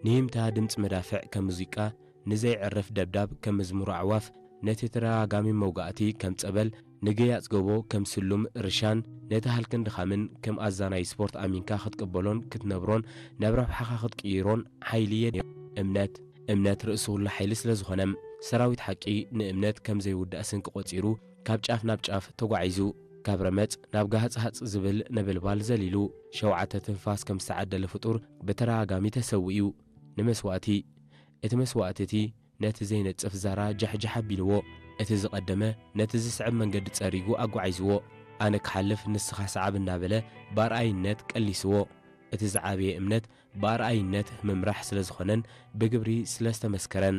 ንሂምታ ድምፂ መዳፍዕ ከም ሙዚቃ፣ ንዘይዕርፍ ደብዳብ ከም መዝሙር ኣዕዋፍ፣ ነቲ ተደጋጋሚ መውጋእቲ ከም ጸበል፣ ንገያጽ ጎቦ ከም ስሉም ርሻን፣ ነቲ ሃልክን ድኻምን ከም ኣዛናይ ስፖርት ኣሚንካ ክትቅበሎን ክትነብሮን፣ ናብ ረብሓኻ ክትቅይሮን ሓይሊ የድልዮ። እምነት፣ እምነት ርእሲ ኩሉ ሓይሊ ስለ ዝኾነ፣ ሰራዊት ሓቂ ንእምነት ከም ዘይውዳእ ስንቂ ቆጺሩ፣ ካብ ጫፍ ናብ ጫፍ ተጓዒዙ፣ ካብ ረመጽ ናብ ጋህጽሃጽ ዝብል ነበልባል ዘሊሉ፣ ሸውዓተ ትንፋስ ከም ዝተዓደለ ፍጡር ብተደጋጋሚ ተሰዊኡ። ንመስዋእቲ፣ እቲ መስዋእቲ እቲ ነቲ ዘይነጽፍ ዛራ ጃሕጃሕ ኣቢልዎ። እቲ ዝቐደመ ነቲ ዝስዕብ መንገዲ ጸሪጉ ኣጓዒዝዎ። ኣነ ክሓልፍ ንስኻ ሰዓብ እናበለ ብኣርኣይነት ቀሊስዎ። እቲ ዝዓበየ እምነት ብኣርኣይነት ምምራሕ ስለ ዝኾነን ብግብሪ ስለ ዝተመስከረን።